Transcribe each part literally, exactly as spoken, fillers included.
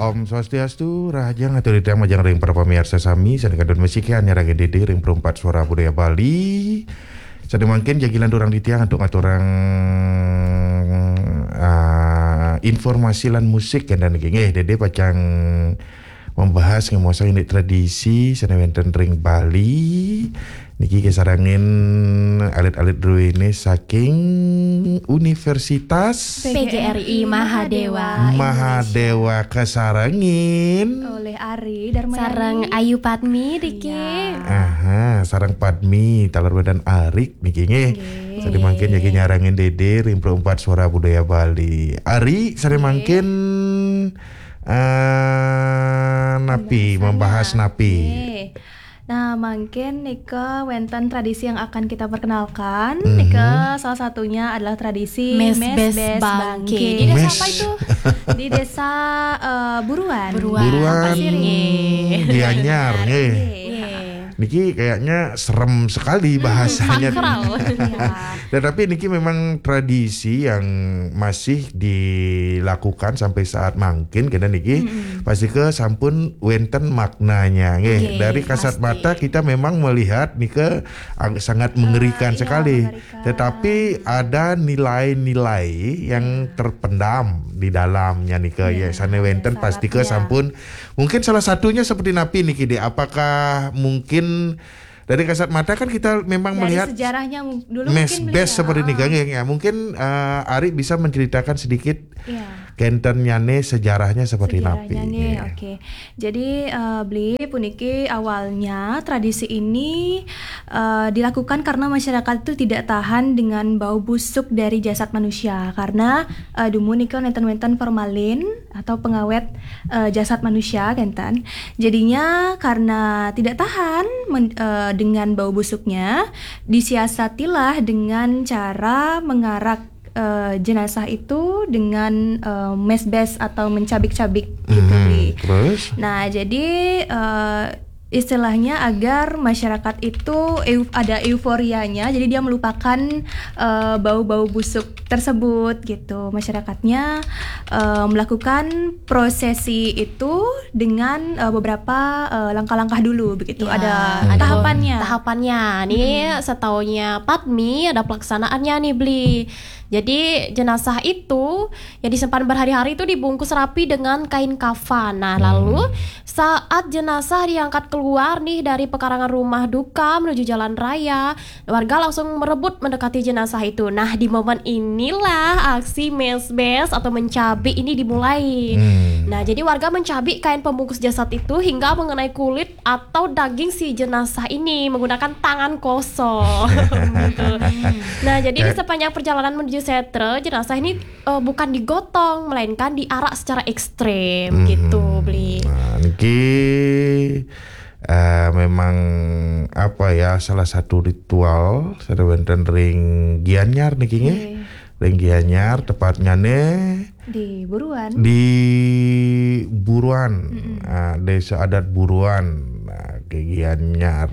Om Swastiastu, rahajeng atur titiang majeng ring para pamiarsa sami, sane kantun masikian nyarengin Dede ring Perumpat Suara Budaya Bali. Sane mangkin jagilan durang titiang antuk ngaturang, ah, informasi lan musik kenten niki. Nggih, Dede pacang membahas ngemuasang indik tradisi sane wenten ring Bali. Niki kasarengin alit-alit druene saking Universitas P G R I Mahadewa. Mahadewa kasarengin. Oleh Ari Darmayani. Sareng Ayu Padmi diki. Iya. Aha, sareng Padmi, taler wenten Arik niki nggih. Nggih. Sane mangkin jagi nyarengin Dede ring Perumpat Suara Budaya Bali. Ari, sane mangkin, eh, napi, membahas napi. Nggih. Nah, mangkin nika wenten tradisi yang akan kita perkenalkan. Mhm. Nika salah satunya adalah tradisi Mes Mes Bes Bes Bangke. Bangke. Di desa Mes. apa itu? Di desa eh, Buruan. Buruan. Buruan Pasir, nggih. Gianyar nggih. Iya. Niki kayaknya serem sekali bahasanya. Sakral. Iya. Tetapi niki memang tradisi yang masih dilakukan sampai saat mangkin kena niki. Pasti ke sampun wenten maknanya nggih. Nggih, Dari kasat pasti. mata kita memang melihat nika ag- sangat mengerikan Ah, iya, sekali. mengerikan. Tetapi ada nilai-nilai yang terpendam di dalamnya nika ya. Sane wenten pasti ke Syaratnya. Sampun, mungkin salah satunya seperti napi niki deh. Apakah mungkin dari kasat mata kan kita memang Dari melihat sejarahnya mu- dulu Mes mungkin Bes beliau, seperti ah, niki nggih, ya. Mungkin eh, Ari bisa menceritakan sedikit Iya. kentennyane sejarahnya seperti napi. Sejarahnya nggih, oke. Jadi eh, beli puniki awalnya tradisi ini eh, dilakukan karena masyarakat itu tidak tahan dengan bau busuk dari jasad manusia karena eh, dumun nika wenten-wenten formalin atau pengawet eh, jasad manusia kenten. Jadinya karena tidak tahan men- eh, dengan bau busuknya, disiasatilah dengan cara mengarak eh, jenazah itu dengan eh, mesbes atau mencabik-cabik gitu Mhm. Bli. Terus? Nah, jadi eh, istilahnya agar masyarakat itu eu- ada euforianya, jadi dia melupakan eh, bau-bau busuk tersebut gitu. Masyarakatnya eh, melakukan prosesi itu dengan eh, beberapa eh, langkah-langkah dulu begitu. Ya, Ada ada tahapannya. Tahapannya nih, setaunya Padmi ada pelaksanaannya nih Bli. Jadi jenazah itu yang disimpan berhari-hari itu dibungkus rapi dengan kain kafan. Nah, lalu saat jenazah diangkat keluar nih dari pekarangan rumah duka menuju jalan raya, warga langsung merebut mendekati jenazah itu. Nah, di momen inilah aksi mesbes atau mencabik ini dimulai. Hmm. Nah, jadi warga mencabik kain pembungkus jasad itu hingga mengenai kulit atau daging si jenazah ini menggunakan tangan kosong. Gitu. Nah, jadi di Kayak sepanjang perjalanan menuju setra, jenazah ini eh, bukan digotong, melainkan diarak secara ekstrem Mhm. gitu, Bli. Nah, niki eh, memang apa ya, salah satu ritual sane wenten ring Gianyar niki nggih. Nggih. Ring Gianyar tepatnya nih Di Buruan. di Buruan, ah, desa adat Buruan, nah, ke Gianyar.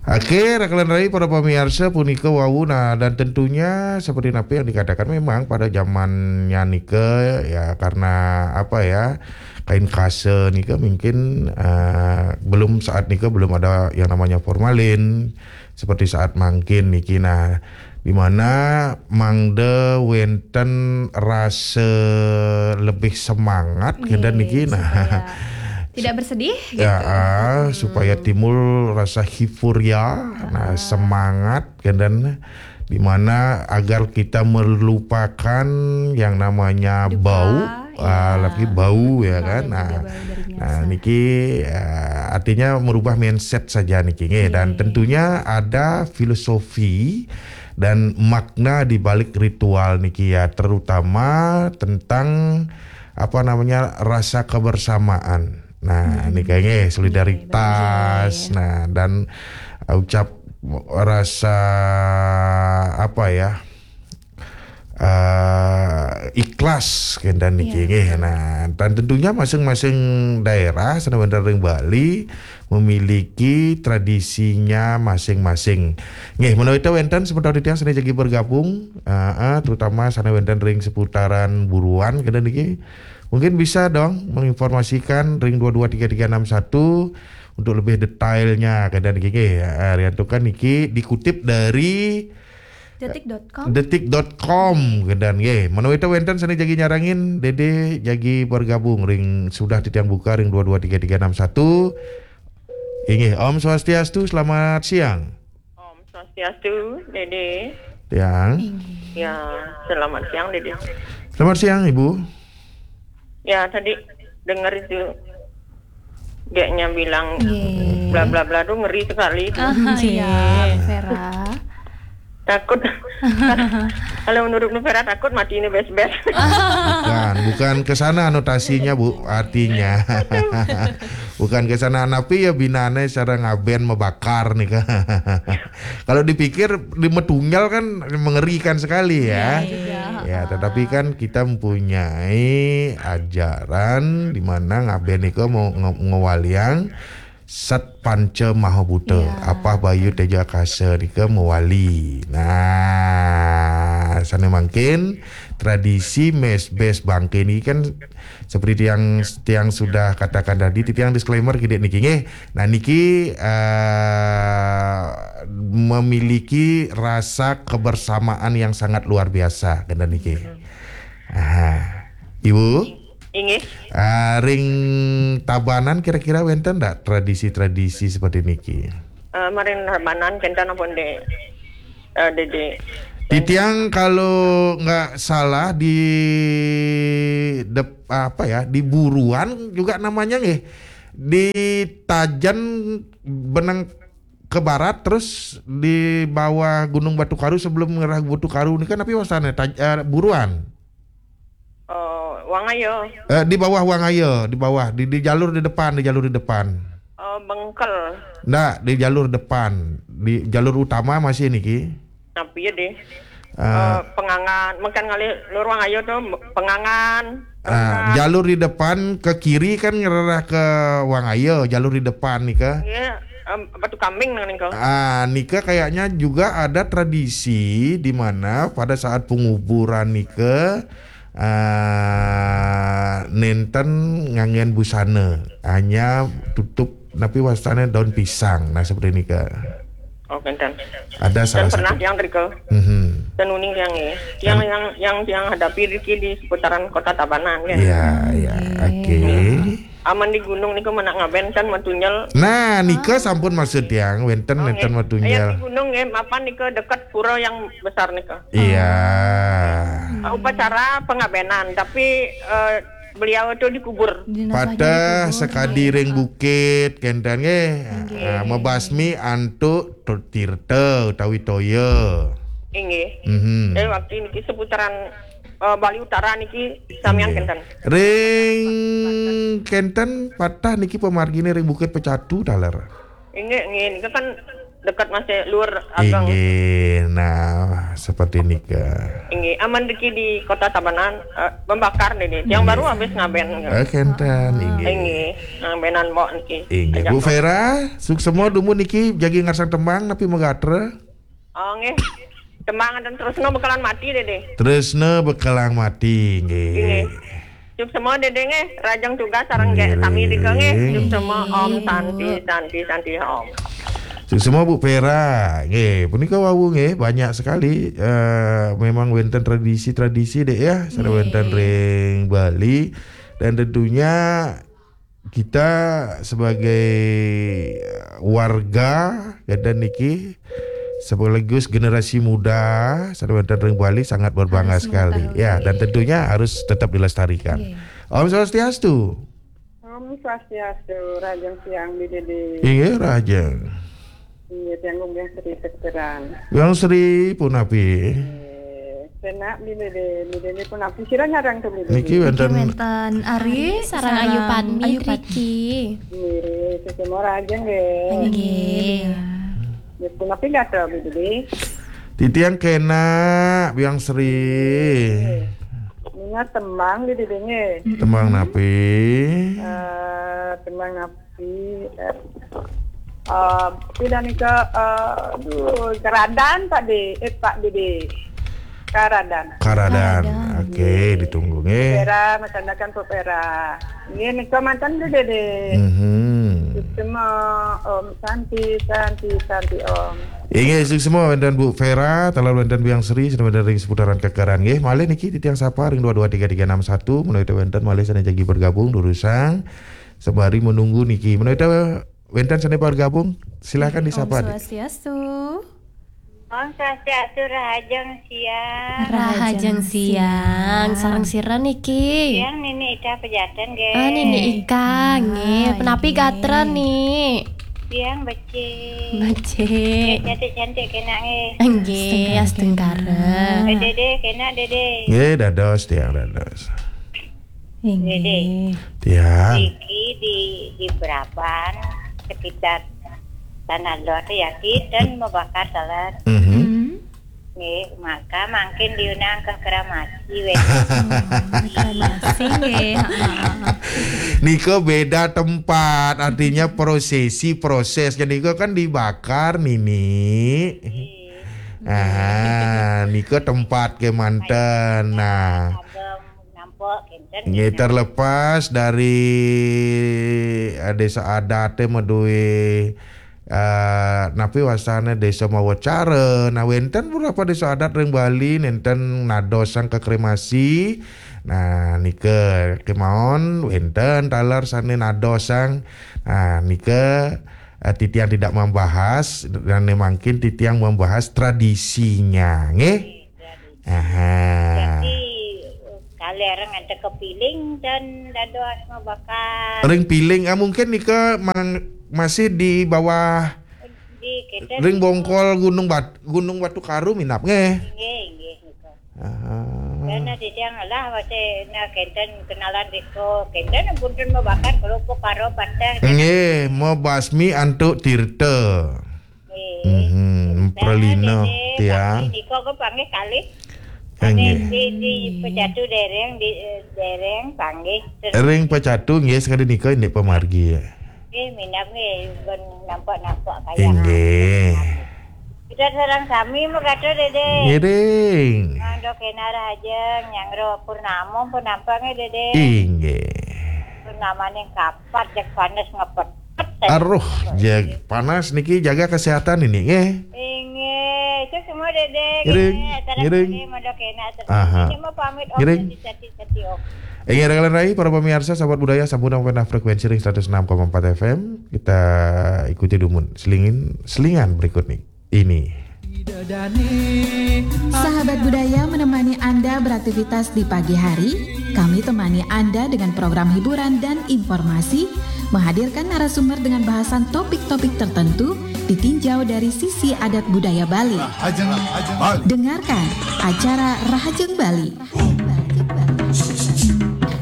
Oke, rakalan rai para pemirsa punika wau, nah, dan tentunya seperti napi yang dikatakan memang pada zamannya nika ya karena apa ya, kain kasa nika mungkin eh, belum saat nika belum ada yang namanya formalin seperti saat mangkin niki, nah, di mana mangda wenten rasa lebih semangat kenten niki, nah. Supaya tidak bersedih gitu. Ya, ah, supaya timbul rasa hifuria, nah, semangat kenten, di mana agar kita melupakan yang namanya Duka, bau, ya. Ah, lagi bau ya Nah, kan. dan Nah, juga bau dari nah jasad. Niki eh, artinya merubah mindset saja niki nggih. Dan Nggih. Tentunya ada filosofi dan makna di balik ritual niki ya, terutama tentang apa namanya, rasa kebersamaan. Nah, niki nggih, solidaritas. Nah, dan ucap rasa apa ya, eh, ikhlas kenten niki nggih. Nah, dan tentunya masing-masing daerah sanajan wenten ring Bali memiliki tradisinya masing-masing. Nggih, menawi wenten semeton titiang sane jagi bergabung, eh, eh, terutama sane wenten ring seputaran Buruan kenten niki, mungkin bisa dong menginformasikan ring dua dua tiga tiga enam satu untuk lebih detailnya kenten niki nggih. Eh, riantukan niki dikutip dari detik dot com. Detik dot com kenten nggih. Menawi wenten sane jagi nyarengin, Dede jagi bergabung ring sudah titiang buka ring dua dua tiga tiga enam satu. Inggih, Om Swastiastu, selamat siang. Om Swastiastu, Dede. Siang. Inggih. Ya, selamat siang, Dede. Selamat siang, Ibu. Ya, tadi dengar itu, dianya bilang bla bla bla tuh ngeri sekali itu. Ah, iya, Vera. Takut. Kalau menurut Vera takut mati ini bes-bes. Bukan, bukan ke sana anotasinya, Bu, artinya. Bukan ke sana, tapi ya binane cara ngaben mebakar nih, Kak. Kalau dipikir di metunggal kan mengerikan sekali ya. Iya, iya. Ya, tetapi kan kita mempunyai ajaran di mana ngaben nika mau nge-, ngewaliang Sat Panca Mahabuta, iya, Apah Bayu Teja Akasa nika mewali. Nah, sane mangkin tradisi mes bes bangke niki kan seperti yang tiang sudah katakan tadi, tiang disclaimer kidik niki nggih. Nah, niki, eh, memiliki rasa kebersamaan yang sangat luar biasa kenten niki. Aha. Ibu? Inggih. Ah, ring Tabanan kira-kira wenten ndak tradisi-tradisi seperti niki? Eh, maring Tabanan kenten ampun de, eh, Dede. Titiang kalau nggak salah di dep-, apa ya, di Buruan juga namanya nggih. Di Tajen benang ke barat, terus di bawah Gunung Batu Karu, sebelum ngerah Batu Karu nika napi wastane? Taj-, eh, Buruan. Oh, Wangaya. Eh, di bawah Wangaya, di bawah, di, di jalur di depan, di jalur di depan. Oh, Bengkel. Ndak, di jalur depan, di jalur utama masih niki. Napi ya deh? Eh, eh, Pengangan, makan ngalih luar Wangaya tuh, Pengangan. Ah, Pengangan. Jalur di depan ke kiri kan ngerereh ke Wangaya, jalur di depan nika. Iya, em, Batu Kambing nang nika. Ah, nika kayaknya juga ada tradisi di mana pada saat penguburan nika, ah, nenten nganggen busana, hanya tutup napi wastane daun pisang. Nah, seperti nika. Oh, kenten. Ada salah satu. Pernah yang rika. Mhm. Ten uning yang, eh. Yang, yang, yang, yang hadapi riki di seputaran Kota Tabanan, ya. Iya, iya. Oke. Oke. Aman di gunung niku menak ngaben kan metunyel. Nah, nika sampun maksud tiang, wenten, wenten metunyel. Yang di gunung, eh, apa nika dekat pura yang besar nika. Iya. Ah, upacara pengabenan, tapi, eh, beliau itu dikubur. Pateh sakadi ring bukit, kenten nggih. Nggih. Ah, mebasmi antuk tirta utawi toya. Inggih. Mhm. Eh, waktu niki seputaran, eh, Bali Utara niki samian kenten. Ring kenten pateh niki pemargine ring Bukit Pecatu taler. Inggih, inggih. Nika kan dekat masih luar ageng. Inggih, nah, seperti nika. Inggih, aman riki di Kota Tabanan, eh, membakar nih, nih. Yang baru habis ngaben. Eh, kenten, inggih. Inggih, ngabenan mbok niki. Inggih, Bu Vera, suksema dumun niki jagi ngarsang tembang napi magatra? Oh, nggih. Tembang dan terus no bakalan mati deh, deh. Tresna bekalang mati, nggih. Nggih. Suksema Dede nggih, rajeng tugas sareng nggih sami rika nggih. Nggih. Suksema Om Santi, Santi, Santi Om. Suksema Bu Vera, nggih. Punika wau nggih, banyak sekali, eh, memang wenten tradisi-tradisi dek ya, sane wenten ring Bali. Dan tentunya kita sebagai, eh, warga kenten niki sekaligus generasi muda sane wenten ring Bali sangat berbangga sekali. Ya, dan tentunya harus tetap dilestarikan. Nggih. Om Swastiastu. Om Swastiastu, rajeng siang, Dede. Inggih, rajeng. Iya, tiang Gung Sri Sekteran. Gung Sri punapi? Eh, penak, Dede, Dede punapi? Sira nyarang tuh, Dede. Niki wenten Ari sareng Ayu Padmi, Ayu Padmi. Riki. Nggih, sesama rajeng nggih. Nggih. Ya, punapi gatra, Dede? Titiang kena, Biang Sri. Ninga tembang di didinge. Tembang napi? Eh, tembang napi? Eh, eh, pina nika, eh, aduh, Karadan, Pak De, eh, Pak Dede. Karadan. Karadan. Karadan. Oke, ditunggu nggih. Vera, masandekan Pak Vera. Nggih, nika manten Dede. Mhm. Suksma, Om, Santi, Santi, Santi, Om. Inggih, suksma wénten Bu Vera, taler wénten Biang Sri, sané wénten ring seputaran Kekaran nggih. Malih niki titiang sapa ring dua dua tiga tiga enam satu, menawi wénten malih sané jagi bergabung durusang sembari menunggu niki. Menawi wénten sané bergabung, silakan disapa, Dik. Swastiastu. Om Swastiastu, rahajeng siang. Rahajeng siang. Sareng sira niki? Siang, Nini Ika Pejaten, nggih. Ah, Nini Ika, nggih. Ah, penapi nggih. Gatra, Ni? Siang, becik. Becik. Nggih, cantik-cantik kena, nggih. Nggih, astungkara. Astungkara. Eh, Dede, kena, Dede. Nggih, dados, tiang dados. Inggih. Dede. Tiang. Niki di, di Beraban, sekitar Tanah Lot, ya, ki, dan mabakar taler. Mhm. Hmm. Nggih, maka mangkin diundang ke kremasi, wéh. Oh, kremasi, nggih. Heeh. Nika beda tempat, artinya prosesi, prosesnya nika kan dibakar, Nini. Nggih. Ah, nika tempat kemanten. Nah. Ageng, nampak, kinten, nggih, kinten. Terlepas dari, eh, desa adat, eh, madué, eh, napi wastané desa mawa cara. Nah, wénten beberapa desa adat ring Bali nénten nadosang ka kremasi. Nah, nika kemawon wénten taler sané nadosang. Nah, nika, eh, titiang tidak membahas, dan mangkin titiang membahas tradisinya, nggih. Tradisi. Aha. Jadi, kalih ring antek kepiling dan dados mabakar. Ring piling, ah, mungkin nika mang-, masih di bawah di, kita ring di bongkol Gunung Bat-, Gunung Batu Karu minap, nggih. Nggih, nggih, nika. Aha. Karena titiang lah, masih na kenten kenalan riko, kenten punten mabakar kerupuk karo pateh. Nggih, mabasmi antuk tirta. Nggih. Mhm, nah, pralina, Dede, tiang. Panggih nika ke panggih kalih. Nggih. Di, di Pecatu dereng, di, eh, dereng, panggih. Terus ring Pecatu, nggih, sekali nika indik pamargi, ya. Nggih, minab, nggih, pun nampak-nampak kaya. Inggih. Kita sareng sami makatur, Dede. Ngiring. Mangda kena rahajeng, nyanggra purnama pun nampak, nggih, Dede. Inggih. Purnamaning kapat, jak panas ngepet. Aruh, jag-, panas niki, jaga kesehatan ini, nggih. Inggih, itu semua, Dede. Ngiring, nggih, acara ngiring. Dede, mangda kena, terus aha. Ini mah pamit, Om, ngiring. Sati-sati, Om. Inggih, rekan rai, para pemirsa, sahabat budaya, sampun nampi frekuensi ring seratus enam koma empat F M. Kita ikuti dumun selingin, selingan berikut nih. Ini. Sahabat budaya menemani Anda beraktivitas di pagi hari, kami temani Anda dengan program hiburan dan informasi, menghadirkan narasumber dengan bahasan topik-topik tertentu, ditinjau dari sisi adat budaya Bali. Rahajeng Bali. Dengarkan acara Rahajeng Bali.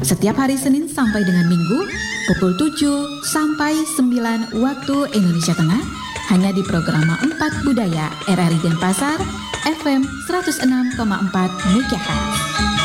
Setiap hari Senin sampai dengan Minggu, pukul tujuh sampai sembilan waktu Indonesia Tengah, hanya di Programa empat Budaya R R I Denpasar, F M seratus enam koma empat megahertz.